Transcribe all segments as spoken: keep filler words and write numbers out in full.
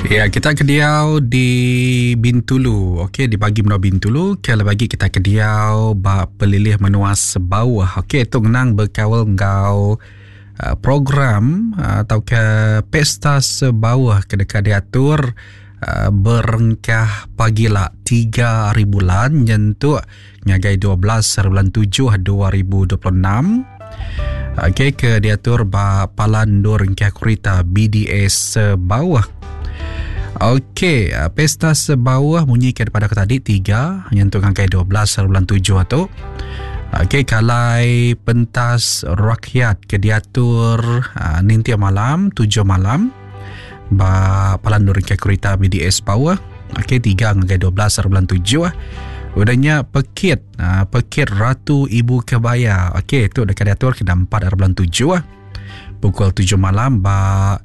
Ya, kita ke diau di Bintulu. Okey, di bagi menua Bintulu, ke lebih agi kita ke diau ba pelilih menua Sebauh. Okey, tu ngenang bekaul enggau uh, program uh, tauka Pesta Sebauh ke deka diatur uh, berengkah pagila tiga hari bulan nyentuk ngagai dua belas hari bulan tujuh dua ribu dua puluh enam. Okey, ke diatur ba Palan Endur Engkah Kerita B D S Sebauh. Okey, Pesta Sebauh munyi ke daripada aku tadi tiga nyentuk ngagai dua belas hari bulan tujuh tu. Okey, kalai pentas rakyat ke diatur uh, nintia malam tujuh malam ba Palan Endur Engkah Kerita B D S Sebauh. Okey, tiga ngagai dua belas hari bulan tujuh. Udahnya pekit, uh, pekit Ratu Ibu Kebaya. Okey, tu dekat diatur kena empat hari bulan tujuh pukul tujuh malam ba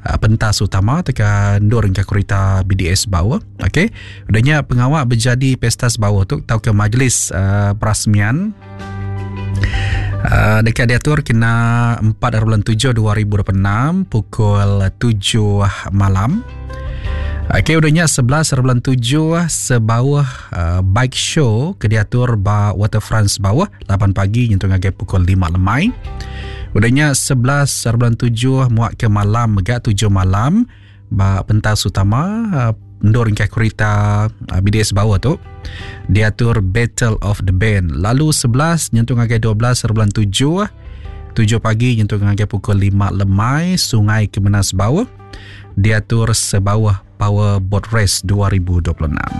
pentas utama tekan endur engkau kereta B D S Bawah. Okey, udahnya pengawak berjadi pesta Sebauh tu tau ke majlis uh, perasmian uh, dekat diatur kena empat hari bulan tujuh dua ribu dua puluh enam pukul tujuh malam. Okey, udahnya sebelas hari bulan tujuh Sebauh uh, bike show ke diatur ba Waterfront Sebauh lapan pagi nyentuh ngagai pukul lima lemai. Udahnya sebelas hari bulan tujuh muak ke malam megak tujuh malam ba pentas utama uh, endur engkau kereta uh, B D S Bawah tu diatur Battle of the Band. Lalu sebelas nyentuh ngagai dua belas hari bulan tujuh, tujuh pagi nyentuh ngagai pukul lima lemai Sungai Kemenas Bawah diatur Sebauh Power Boat Race dua ribu dua puluh enam.